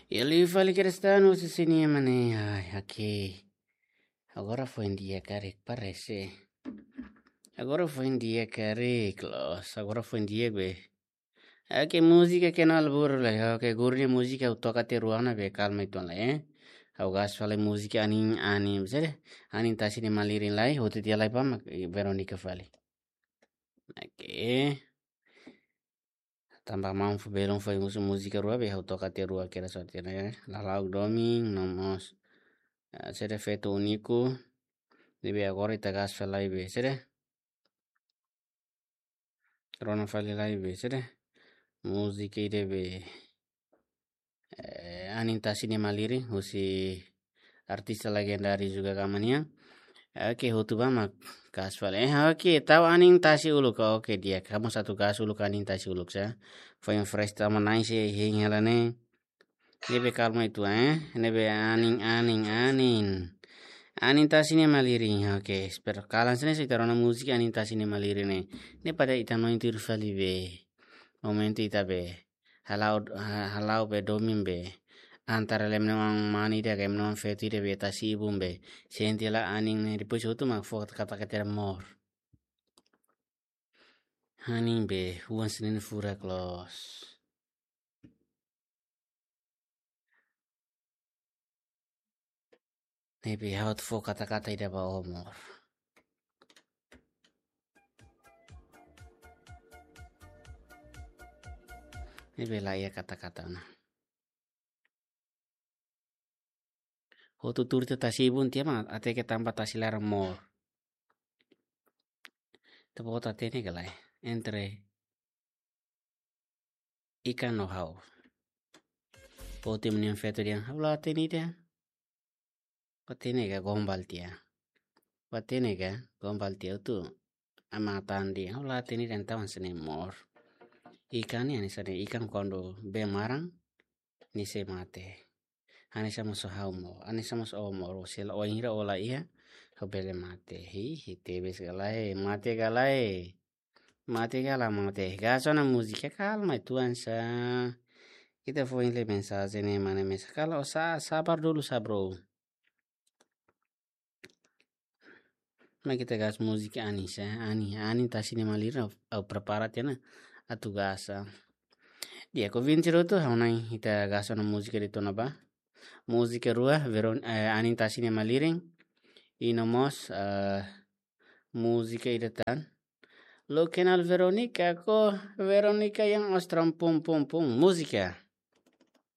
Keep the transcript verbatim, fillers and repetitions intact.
Ele fali Cristiano se sinia mane, ai, oke. Agora foin di'ak karik, parese. Agora foin di'ak karik, los. Agora foin di'ak be. Oke, múzika ke nal buru lai. Oke, guru nia múzika ha'u toka tiha rua ona be kalma uitoan lai, eh. Ha'u gas fali múzika anin, anin, sede. Anin tasi nia malirin lai, hotu tiha lai pa mak, eh, Veronica fali. Oke. Tanba maun fó belun fó múzika rua be ha'u toka tiha rua kera sorte ne. Lala'ok domin, no mós. Ah, sede feto úniku. Ne'ebé agora ita gas fali be, sede. Rona fali lai be, sede. Múzika ida be, eh, anin tasi nia malirin, husi artista legendáriu juga kama nian. Oke, hotu ba mak gas fali. Eh, oke, tau anin tasi uluk, oke, di'ak. Kamu satu gas uluk anin tasi uluk sa. Foin fresh tama nai se hein hela ne. Ne'ebé kalma uitoan, eh. Ne'ebé anin, anin, anin. Anin tasi nia malirin, oke. Espera kalan sene se ita rona múzika anin tasi nia malirin ne'e. Ne'e para ita no intir fali be. Momentu ita be. Hala'o, ha-, hala'o be domin be. Antara lem neman mani de ke neman feto ida be tasi ibun be. Sente la anin ne'e depois hotu mak fó kata-kata amor. Anin be, huan senen furak los. Ne'ebé ha'u atu fó kata-kata ida ba amor. Ne'ebé la iha kata-kata ona. Hotu tuur tiha tasi ibun tiha mak, até ke tanba tasi laran mour. Ita-boot hatene ka lae, entre ikan no ha'u. Boot imi-nia feto dehan, ha'u la hatene dehan. Hatene ka gombal tiha. Hatene ka gombal tiha hotu. Ama tandi, ha'u la hatene dehan entaun hanesan ne'e mour. Ikan ne'e hanesan ne'e, ikan kuandu bee maran, nia sei mate. Hanesan mós ha'u mour, hanesan mós ó mour, se la wainhira ó la iha, ha'u bele mate. Hi, hi, tebes ka lae, mate ka lae. Mate ka la mate. Gas ona múzika, kalma uitoan sa. Ita foin lee mensajen ne'e mane mesa. Kala ó sa, sabar dulu sa, bro. Mai ita gas múzika anin sa, anin, anin tasi nia malirin, ha'u, ha'u prepara tiha ona atu gas sa. Di'ak, ouvinte hotu, ha'u hanoin ita gas ona múzika ida tiha ona ba. Múzika rua, Veron-, eh, anin tasi nia malirin. I no mós, eh, múzika ida tan. Lo kenal Veronica ko, Veronica yang Austral pum pum pum. Múzika.